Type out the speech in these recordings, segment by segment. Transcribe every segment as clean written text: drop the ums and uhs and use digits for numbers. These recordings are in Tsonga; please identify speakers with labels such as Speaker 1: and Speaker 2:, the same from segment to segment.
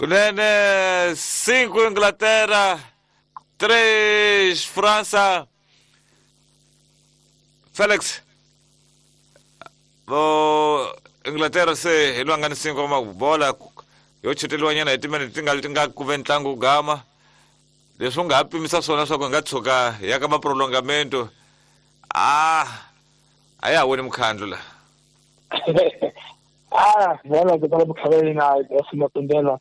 Speaker 1: Kunene 5 Inglaterra, 3 França. Felix vo Inglaterra se hi lwanga ni 5 wa bola yo chuteriwa nyana hi timinete ti nga ti nga ku ve ntlangu wu gama. Leswi u nga ha pimisa swona swa ku hi nga tshuka hi ya ka maprolongamento. Ah, a ya ha woni mukhandlu la.
Speaker 2: Ah, bola ke tala mukhaveli na ya Matundela.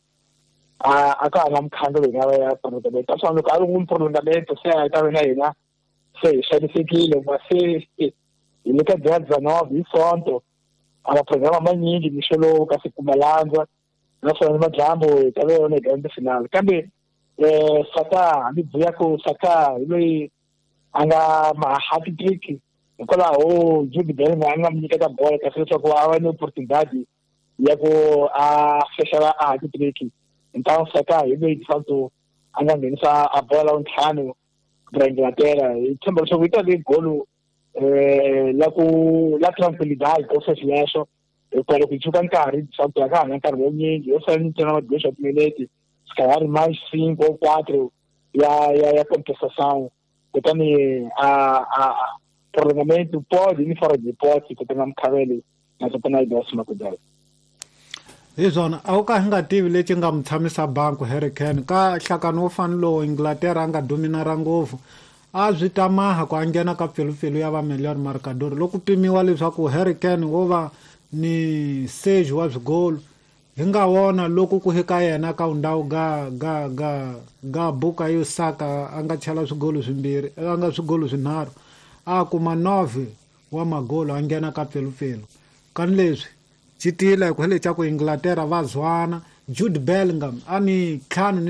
Speaker 2: A a ka ha na mukhandlu leyi nga ya prolongamento. Ka swona loko a ri n'wi prolongamento se a ta ve na hina se hi xanisekile ma se hi le ka dia 19 hi Sonto. A maprograma manyingi mixo lowu ka se kuma landza naswona ni madyambu hi ta ve yona hi grande finale. Kambe Saka hambi buya ku Saka hi loyi a nga ma hat trick hikwalaho Jude Bellingham a nga mi nyiketa bola kasi leswaku a va ni opportunidade ya ku a fexela a hat trick. Então Saka hi loyi de facto a nga nghenisa a bola la ntlhanu ra Inglaterra. Hi tshemba leswaku yi ta ve golo la ku la tranquilidade ko sweswo hikuva loko hi tshuka nkarhi de facto a ka ha na nkarhi wo yo sala ntsena ma dois timinete se calhar mais 5 ou 4 ya compensação. Kutani a prolongamento pode ni fora de hipótese kutani mukhaveli na tatana Idosi Makudela.
Speaker 3: Hi swona a wu ka hi nga tivi lexi nga mu tshamisa banku Harry Kane ka nhlakano wo fana lowu Inglaterra a nga dominara ngopfu a swi ta maha ku a nghena ka pfilupfilu ya va million marcador loko pimiwa leswaku Harry Kane wo va ni seji wa swigolo hi nga wona loko ku hika yena ka ndhawu ga ga ga ga buka yo saka a nga chela swigolo swimbirhi a nga swigolo swinharhu a kuma 9 wa magolo a nghena ka pfilupfilu kani leswi citila ku hele xa ku Inglaterra va zwana Jude Bellingham a ni ntlhanu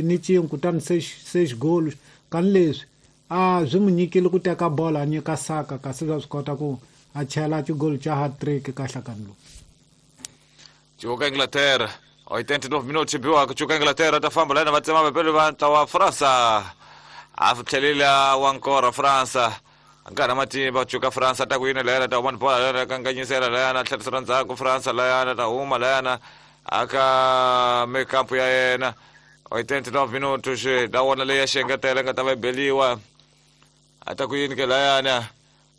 Speaker 3: ni cin'we kutani se xigolo kani leswi a swi mu nyikile ku teka bola a nyika Saka kasi swa swi kota ku a chela xigolo xa hat-trick ka nhlakano lowu.
Speaker 1: Cuka Inglaterra 89 minutos biwa cuka Inglaterra ta famba lana va tsema vapelo va ntlawa wa Fransa a tlhelela wa nkora Fransa nkarhi matimba cuka Fransa ta ku yini layana ta huma ni bola layana kanganyisela layana tlherisela ndzhaku Fransa layana ta huma layana aka mikampu ya yena 89 minutos da wona leyi ya xengetela nga ta va beliwa a ta ku yini ke layana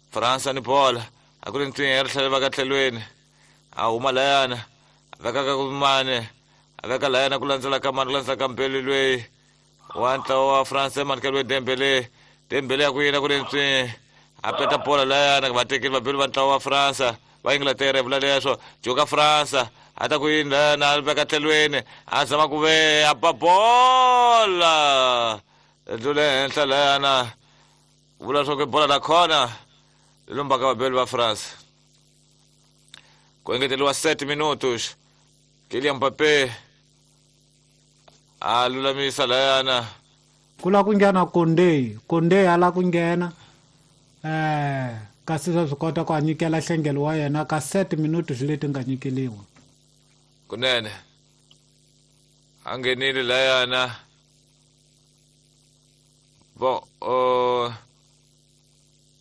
Speaker 1: Fransa ni bola a ku ri ntwinya ya ritlhele va ka tlhelweni a huma layana a veka ka mane a veka layana ku landzela ka mane ku landzela ka mbeli lweyi wa ntlawa wa France manikelo Dembele Dembele ya ku yina ku ri ntswi a peta bola layana va tekile vabeli va ntlawa wa France va Inglaterra vula leswo joka France a ta ku yini layana a veka tlhelweni a zama ku ve a ba bola ndlule henhla layana vula swa ku bola la khona lombaka vabeli va France ku engeteriwa 7 minutos Kylian Mbappé a lulamisa layana
Speaker 3: ku la ku nghena Konde a la ku nghena kasi swa swi kota ku a nyikela nhlengelo wa yena ka 7 minutos leti nga nyikeliwa
Speaker 1: kunene a nghenile layana bo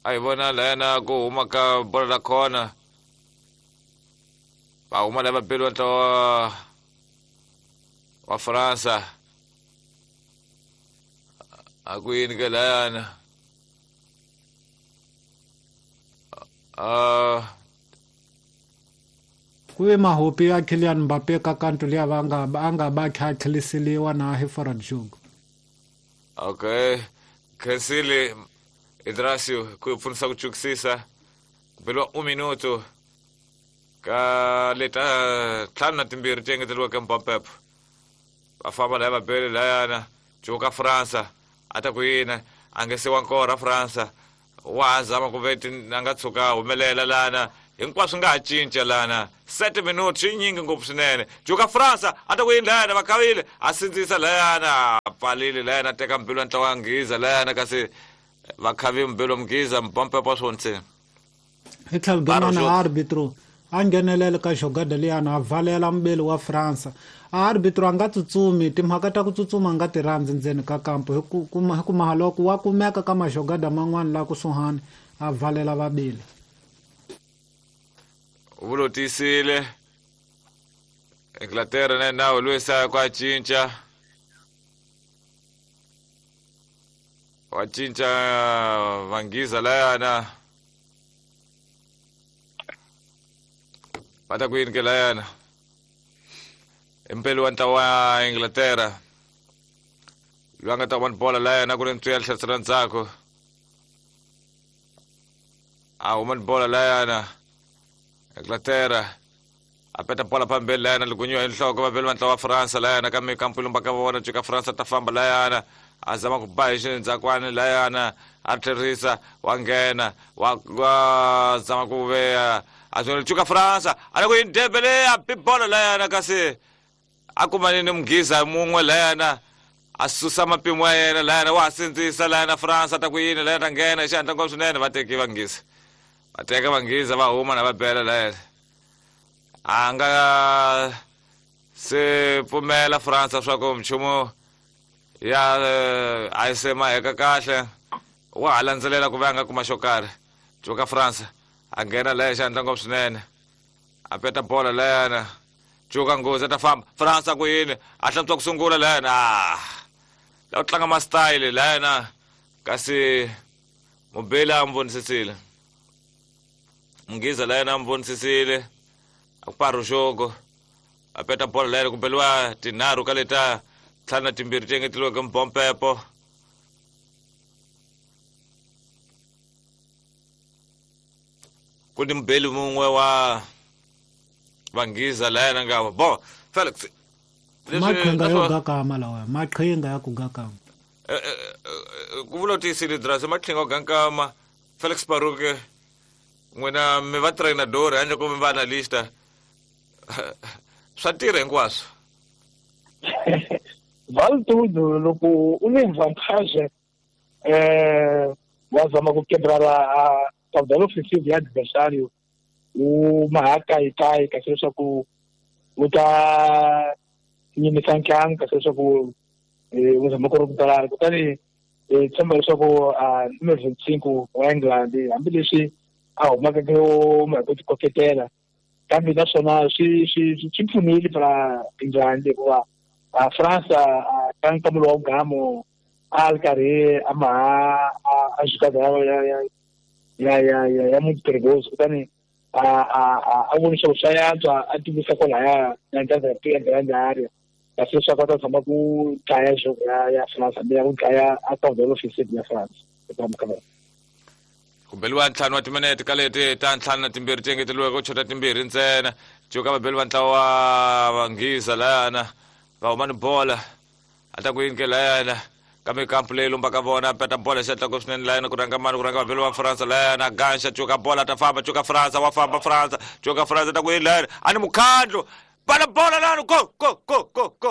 Speaker 1: a hi vona layana ku huma ka bola la khona va huma lava vabeli va ntlawa wa Fransa a ku yini ke layana
Speaker 3: ku ve mahopi ya Kylian Mbappé ka kanto liya va nga a nga va kha tlheliseliwa na hi forward jogo.
Speaker 1: Okay, khensile Idrasio ku pfunisa ku chukisisa ku beliwa 1 minuto ka leta 52 ti engeteriweke Mbappé va famba laya vabeli layana cuka Fransa a ta ku yini a nge siwa nkora Fransa wa zama ku ve a nga tshuka humelela lana hinkwaswo nga ha cinca lana 7 minutos yi nyingi ngopfu swinene cuka Fransa a ta ku yini layana va khavile a sindzisa layana a pfalile layana a teka mbilu ya ntlawa ya Nghiza layana kasi va khavi mbilu Mghiza Mbappé wa swonse
Speaker 3: hi tlhelo rin'wana arbitro a nghenelela ka xogada liyana a valela mubeli wa Fransa a arbitro a nga tsutsumi timhaka ta ku tsutsuma a nga ti rhandzi ndzeni ka kampo hi ku mahaloko wa kumeka ka maxogada man'wana la kusuhani a valela vabeli
Speaker 1: vulotisile Inglaterra na nawe lwisa kwa cinca. Wa cinca Vanghiza layana. Va ta ku yini ke layana? Impela wa ntlawa wa Inglaterra. Loyi a nga ta vona bola layana ku ri ntswiya hlasela ndzhaku. A huma ni bola layana. Inglaterra a peta bola phambili layana ligunyiwa hi nhloko vaveli va ntlawa wa Fransa layana ka mikampu lumba ka vona cuka Fransa ta famba layana. A zama ku ba hi xindzhakwani layana a tlherisa wa nghena wa zama ku veya a swona cuka Fransa a le ku yini Dembele a bi bola layana kasi a kumani ni Mughiza mun'we layana a susa mapimo ya yena layana wa ha sindzisa layana Fransa ta ku yini layana ta nghena hi xihatla ngopfu swinene va teki Vanghiza. Va teka Vanghiza va huma na va bela layana. A nga se pfumela Fransa swa ku nchumu ya a yi se maheka kahle wa ha landzelela ku va a nga kuma xo karhi. Cuka Fransa a nghena laya xihatla ngopfu swinene a peta bola layana. Cuka nghozi a ta famba Fransa ku yini a hlantswa ku sungula layana. La ku tlanga ma-style layana kasi mubeli a n'wi vonisisile. Mughiza layana a n'wi vonisisile a ku paruxoko a peta bola layana ku beliwa tinharhu ka leta ntlhanu na timbirhi ti engeteliweke mbompepo. Ku ni mubeli mun'we wa Vanghiza layana nga bo Felix
Speaker 3: maqhinga yo gakama lawa maqhinga ya ku gakama
Speaker 1: ku vula tiyisile drasi maqhinga yo gakama Felix Baruke n'wina mi va trainador handle ko mi va analysta swa tirha hinkwaswo.
Speaker 2: Valtudo loko u ni vantage wa zama ku quebrar a caudal ofensivo ya adversário u mahakayikai kasi leswaku u ta yimisa ntlangu kasi leswaku u zama ku ri kutani tshemba leswaku numero 25 wa England hambileswi a humaka ku ti koketela kambe naswona swi pfunile para England hikuva Fransa ka nkamulo wa gamo a ri karhi a maha a jugada ya muito perigoso kutani a voni leswaku swa yantswa a tivisa kwalaya na ya grande area kasi leswaku a ta tshama ku dlaya jogo ya France hambi ya ku dlaya a caudal offensive ya France eka mukavela.
Speaker 1: Ku beliwa ntlhanu wa timinete ka leti ta ntlhanu na timbirhi ti engeteliweke ku chota timbirhi ntsena. Cuka vabeli va ntlawa wa Vanghiza layana va huma ni bola a ta ku yini ke layana ka mikampu leyi lumbaka vona peta bola xihatla ngopfu swinene layana ku rhanga mani ku rhanga vabeli va Fransa layana ganxa cuka bola ta famba cuka Fransa wa famba Fransa cuka Fransa ta ku yini layana a ni mukhandlu bala bola layana go go go go go.